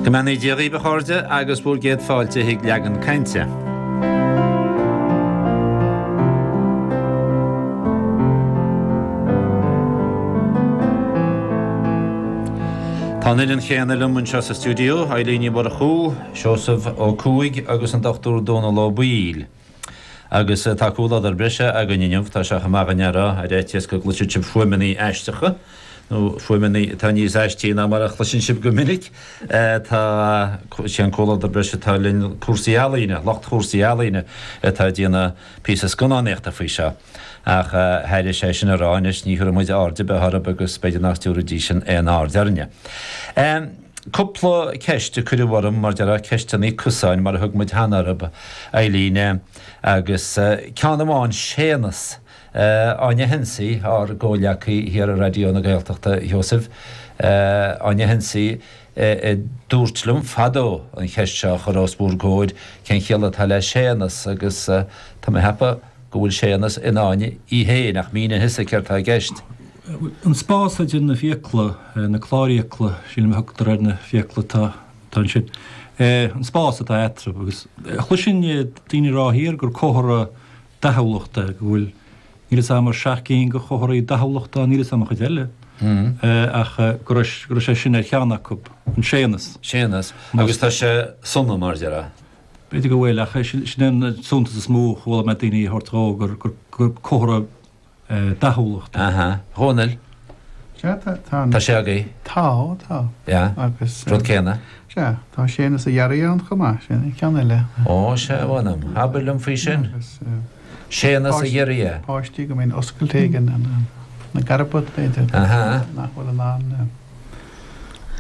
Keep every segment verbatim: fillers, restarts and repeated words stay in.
Go mbeannaí Dia dhaoibh a chairde agus bhur gcéad fáilte chuig Leagan Cainte. Tá an fhoireann chéanna liom anseo sa stiúideo, Eilín Ní Mhurchú, Seosamh Ó Cuaig agus an Dochtúir Dónal Ó Baoill. Agus tá comhluadar breise againn inniu, tá sé chomh maith againn a rá, ar fhaitíos go gcloisfidh sibh fuaimeanna aisteacha, nó fuaimeanna atá níos aistí ná mar a chloiseann sibh go minic. Tá, sé an comhluadar breise atá linn cúrsaí ealaíne, lucht chúrsaí ealaíne atá ag déanamh píosa scannánaíochta faoi seo. Ach thairis é sin a rá anois, ní thabharfaidh muid aird ar bith orthu agus b'fhéidir nach dtabharfaidís sin aon aird orainne. Cúpla ceist a cuireadh orm, mar déarfá, ceisteanna cosáin mar a thug muid cheana orthu, Eileen, agus ceann amháin, Séanas, Áine Hensey, ár gcomhghleacaí thiar i Raidió na Gaeltachta, a Sheosaimh, Áine Hensey, a dúirt liom fadó an cheist seo a chur os bhur gcomhair, cén chiall atá le Séanas agus tá mé a cheapadh go bhfuil Séanas in Áine í féin, ach mínigh thusa céard tá i gceist. An spás idir na fiacla, na clárfhiacla, sílim a thugtar ar na fiacla atá ansin, an spás atá eatarthu agus chloisinn daoine ag rá thiar gur comhartha dathúlachta é, go bhfuil, níl 'fhios a'm ar seacht gcinn de chomharthaí dathúlachta ann, níl 'fhios a'm an chuid eile, ach go raibh, go raibh sé sin ar cheann acu, an Séanas. Séanas, agus tá sé sona mar déarfá. B'fhéidir go bhfuil, ach sin é an suntas is mó a chuala mé daoine a thabhairt dhó, gur, gur, gur comhartha dathúlachta. Aha. A Dhónaill? Sea, tá, tá an. Tá sé agaibh? Tá, tá. Yeah. Agus. Rud céanna? Sea, tá Séanas a ghiorria ann chomh maith, sin an ceann eile. Ó, sea, a mh'anam. Abair liom faoi sin. Agus. Séanas a ghiorria. Páistí go mbíonn oscailt éigin ina gcarbad, b'fhéidir. Aha. Nach bhfuil in ann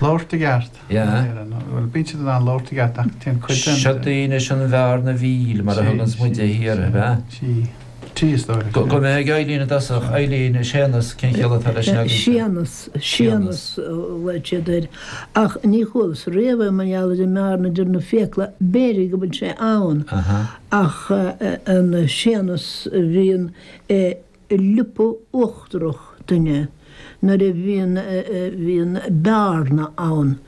labhairt i gceart. Yeah. Bhuel, bíonn siad in ann labhairt i gceart ach téann cuid den. Seo daoine sin an bhearna mhíl, mar a thuganns muide thiar, ab ea? Sí. Sí, is dóigh. Go mbeidh ag Eileen i dtosach. Eileen, Séanas, cén chiall atá leis sin agaibhse? Séanas, Séanas a ghlaoigh siad air. Ach ní chualas riamh é mar gheall ar an mbearna idir na fiacla, b'fhéidir go bhfuil sé ann, ach an Séanas a bhíonn i liopa uachtarach duine nuair a bhíonn, bhíonn bearna ann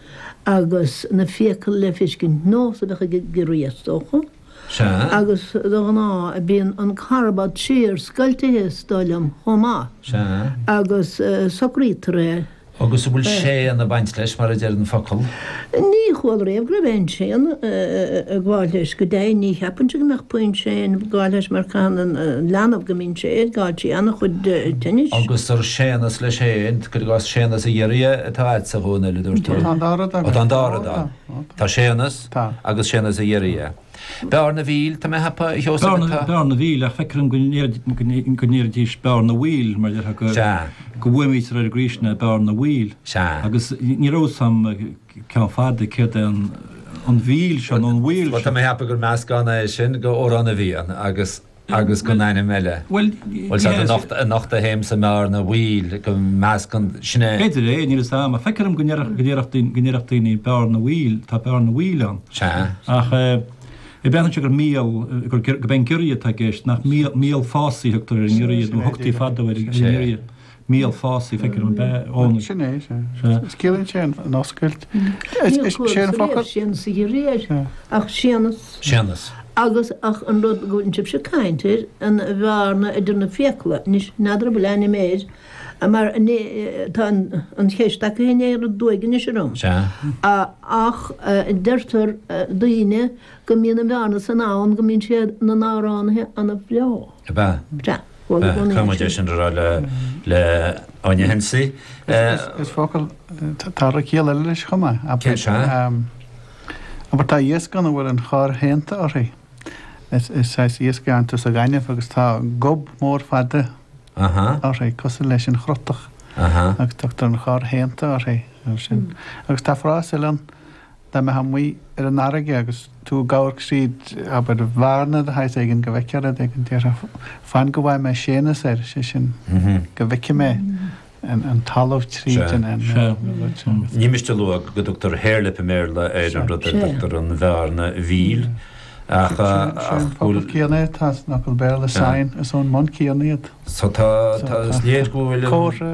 agus na fiacla le feiscint, nós a bheadh ag giorria is dócha. Sea. Agus de ghnáth bíonn an carbad siar scoiltithe is dóigh liom chomh maith. Sea. Agus socraítear é. Agus an bhfuil séan ag baint leis, mar a deir an focal? Ní chuala riamh go raibh aon séan ag gabháil leis. Go deimhin ní cheapfainnse go mbeadh puinn séin ag gabháil leis mar caitheann an leanbh go mbíonn sé ag gabháil trí an-chuid tinnis. Agus ar Séanas leis féin, cuir i gcás Séanas a ghiorria atá agatsa, a Dhónaill, a dúirt tú. Tá an dá rud agam. Tá an dá rud ann. Tá Séanas agus Séanas a ghiorria. Bearna Mhíl, tá mé a cheapadh, a Sheosaimh, atá. Bearna Mhíl, ach feictear dom go ndéarfaidís Bearna Mhaoil, mar déarfá go go bhfuaimnítear ar an gcaoi sin é, Bearna Mhaoil. Sea. Agus ní raibh 'fhios a'm ceann fada céard é an an mhíl seo nó an mhaoil Bhuel, seo. tá mé a cheapadh gur meascán é sin de Amhrán na bhFiann agus agus den ainm eile. Bhuel, Bhuel, sea, anocht, anocht a théim sa mbearna mhaoil, go meascann, sin é. B'fhéidir é, níl 'fhios a'm, ach feictear dom go ndéarfadh, go ndéarfadh daoine, go ndéarfadh daoine Bearna Mhaoil, tá Bearna Mhaoil ann. Sea. Ach eh, breathnaíonn sé gur míol, gur, gurb é an giorria atá i gceist, nach míol, míol fásaí a thugtar ar an ngiorria, nó thugtaí fadó ar an ngiorria. Míol fásaí, feictear dom, ab ea, Eoin? Sin é, sea. Sea. Is ciallaíonn sé an oscailt. Níor Is sé an chualas focal. riamh Séanas a ghiorria, ach Séanas. Séanas. Agus ach an rud go bhfuil sibhse ag caint air, an bhearna idir na fiacla, anois n'fheadar an bhfuil ainm air, mar tá an cheist acu féin ar aduaidh anois orm. Sea. Ach deirtear daoine go mbíonn an bhearna san ann go mbíonn siad ina n-amhránaithe an-bhreá. Ab ea? Sea. Chuala i gcónaí Caithfidh muid é é sin. sin a rá le le Áine Hensey. Is focal, tá ciall eile leis chomh maith. Cén sea? Abair tá iasc ann a bhfuil an chorr shéanta uirthi. Is saghas iasc é ann sa ghaineamh agus tá gob mór fada uirthi, cosúil leis an chrotach, agus tugtar an chorr shéanta uirthi mar sin. Agus tá frása eile ann, dá mbeifeá amuigh ar an fharraige agus tú ag amharc tríd, abair, bhearna de shaghas éigin go bhfeicfeá rud éigin, déarfá, fan go bhfaighidh mé Séanas air, sé sin, go bhfeicfidh mé. an talamh tríd an rud sin. Ní miste a lua go dtugtar harelip i mBéarla ar an rud ar a dtugtar an bhearna mhíl Ach Sé an focal céanna atá san fhocal Béarla sign, is ón mbun céanna iad. So tá, tá, is léir go bhfuil an, Comhartha.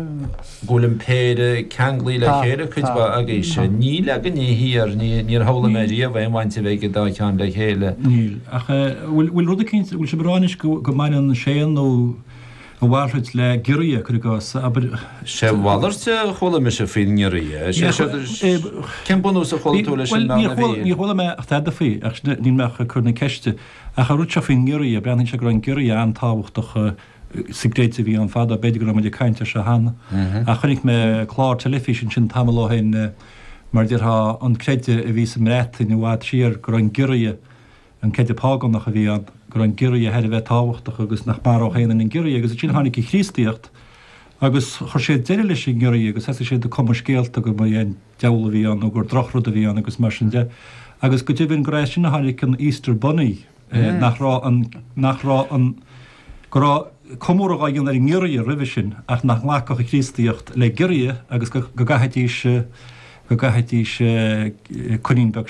go bhfuil an péire ceanglaithe le Tá, chéile cuid tá, mhaith agaibhse. tá. Níl againne thiar, ní, níor shamhlaigh mé riamh aon bhaint a bheith ag an dá cheann le chéile. Níl. Ach bhfuil, bhfuil rud eicínt, bhfuil sibh ag rá anois go, go mbaineann séan nó a mhalrait le giorria, cuir i gcás, abair. Sé a mhalairt a chuala mise faoin ngiorria. Sé seo, cén bunús a chuala tú leis an mbean a bhí? Níor chuala mé ach tada faoi, ach níl mé ach ag cur na ceiste. Ach an rud seo faoin ngiorria, breathnaíonn sé go raibh an giorria an-tábhachtach sa gcreideamh a bhí ann fadó, b'fhéidir go raibh muid ag caint air seo cheana. Ach chonaic mé clár teilifíse ansin tamall ó shin, mar a déarfá, an creideamh a bhí sa mBreatain i bhfad siar, go raibh an giorria, an creideamh págánach a bhí ann, go raibh an giorria thar a bheith tábhachtach agus nach maródh aon duine an giorria agus ansin tháinig an Chríostaíocht agus chuir sé deireadh leis an ngiorria agus thosaigh siad ag cumadh scéalta go mba é an diabhal a bhí ann nó gur drochrud a bhí ann agus mar sin de agus go deimhin gur as sin a tháinig an Easter Bunny nach raibh an nach raibh an go raibh comóradh á dhéanamh ar an ngiorria roimhe sin ach nach nglacfadh an Chríostaíocht le giorria agus go go gcaithfidís go gcaithfidís coinín beag